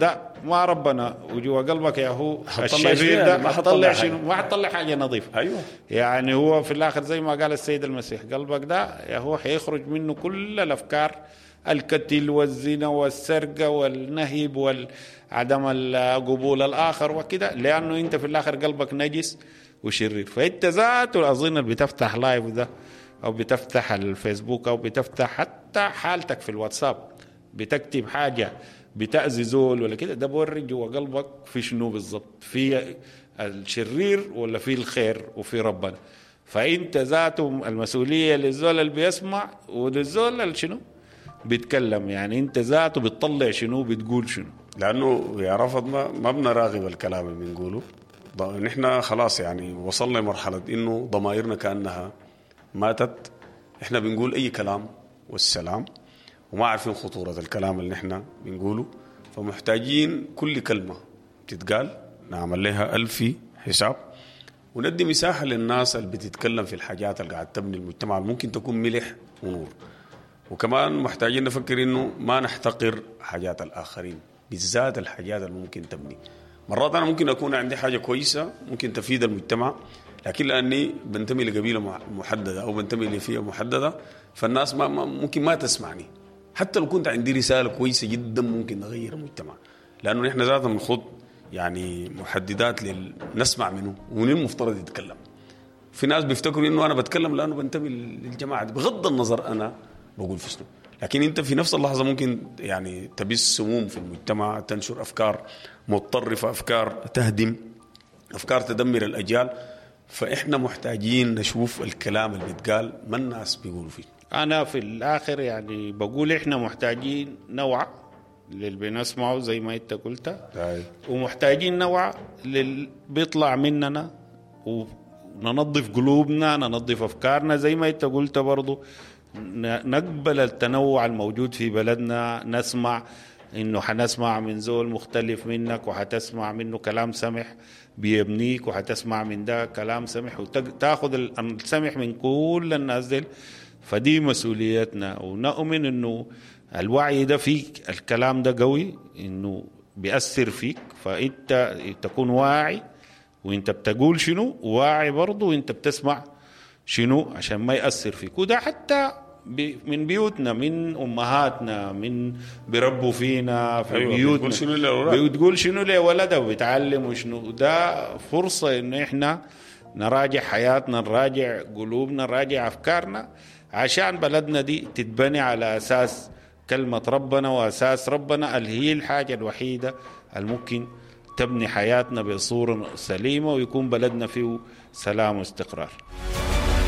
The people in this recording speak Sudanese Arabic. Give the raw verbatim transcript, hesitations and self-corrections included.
ده ما ربنا، وجوا قلبك يا هو حتطلع الشرير شنو ده يعني؟ ما حتطلع حتطلع شنو؟ حاجة. ما حتطلع حاجة نظيفة. أيوة. يعني هو في الآخر زي ما قال السيد المسيح، قلبك ده يا هو حيخرج منه كل الأفكار، القتل والزنا والسرقة والنهب والعدم القبول الآخر وكده، لأنه أنت في الآخر قلبك نجس وشرير. فأنت ذاته أظن اللي بتفتح لايف ده أو بتفتح الفيسبوك أو بتفتح حتى حالتك في الواتساب بتكتب حاجة بتأذي زول ولا كده، ده بوري جوا قلبك في شنو بالضبط، في الشرير ولا في الخير وفي ربنا. فأنت ذاته المسؤولية للزول اللي بيسمع وللزول اللي شنو بيتكلم، يعني أنت ذاته بتطلع شنو بتقول شنو. لأنه يا رفض ما، ما بنراغب الكلام اللي بنقوله. ض-، نحن خلاص يعني وصلنا لمرحلة إنه ضمائرنا كأنها ماتت، إحنا بنقول أي كلام والسلام، وما عارفين خطورة الكلام اللي نحن بنقوله. فمحتاجين كل كلمة تتقال نعمل لها ألف حساب، وندي مساحة للناس اللي بتتكلم في الحاجات اللي قاعد تبني المجتمع اللي ممكن تكون ملح ونور. وكمان محتاجين نفكر إنه ما نحتقر حاجات الآخرين، بالذات الحاجات اللي ممكن تبني. مرات أنا ممكن أكون عندي حاجة كويسة ممكن تفيد المجتمع، لكن لأني بنتمي لقبيلة مح-، محددة أو بنتمي لفئة محددة، فالناس ما-، ما-، ممكن ما تسمعني، حتى لو كنت عندي رسالة كويسة جدا ممكن نغير المجتمع. لأنه نحن ذاتنا بنخوض يعني محددات لل-، نسمع منه ومن المفترض يتكلم. في ناس بيفتكروا إنه أنا بتكلم لأنه بنتمي للجماعة دي، بغض النظر أنا بقول في شنو، لكن أنت في نفس اللحظة ممكن يعني تبث سموم في المجتمع، تنشر أفكار متطرفة، أفكار تهدم، أفكار تدمر الأجيال. فإحنا محتاجين نشوف الكلام اللي بيتقال ما الناس بيقولوا فيه. أنا في الآخر يعني بقول إحنا محتاجين نوع للي بنسمعه زي ما أنت قلت، طيب. ومحتاجين نوع للي بيطلع مننا، وننظف قلوبنا، ننظف أفكارنا زي ما أنت قلت برضو، ن-، نقبل التنوع الموجود في بلدنا، نسمع إنه حنسمع من زول مختلف منك، وحتسمع منه كلام سمح بيبنيك، وحتسمع من ده كلام سمح، وتاخذ ال-، السمح من كل الناس ديل. فدي مسؤوليتنا، ونؤمن إنه الوعي ده فيك، الكلام ده قوي إنه بيأثر فيك، فأنت تكون واعي وإنت بتقول شنو، واعي برضو وإنت بتسمع شنو عشان ما يأثر فيك. وده حتى بي-، من بيوتنا، من أمهاتنا، من بيربوا فينا في أيوة، بيوتنا. بتقول شنو لأولادك؟ بتقول شنو لولدها وبيتعلموا شنو. ده فرصة إنه إحنا نراجع حياتنا، نراجع قلوبنا، نراجع أفكارنا، عشان بلدنا دي تتبني على أساس كلمة ربنا وأساس ربنا اللي هي الحاجة الوحيدة الممكن تبني حياتنا بصورة سليمة، ويكون بلدنا فيه سلام واستقرار.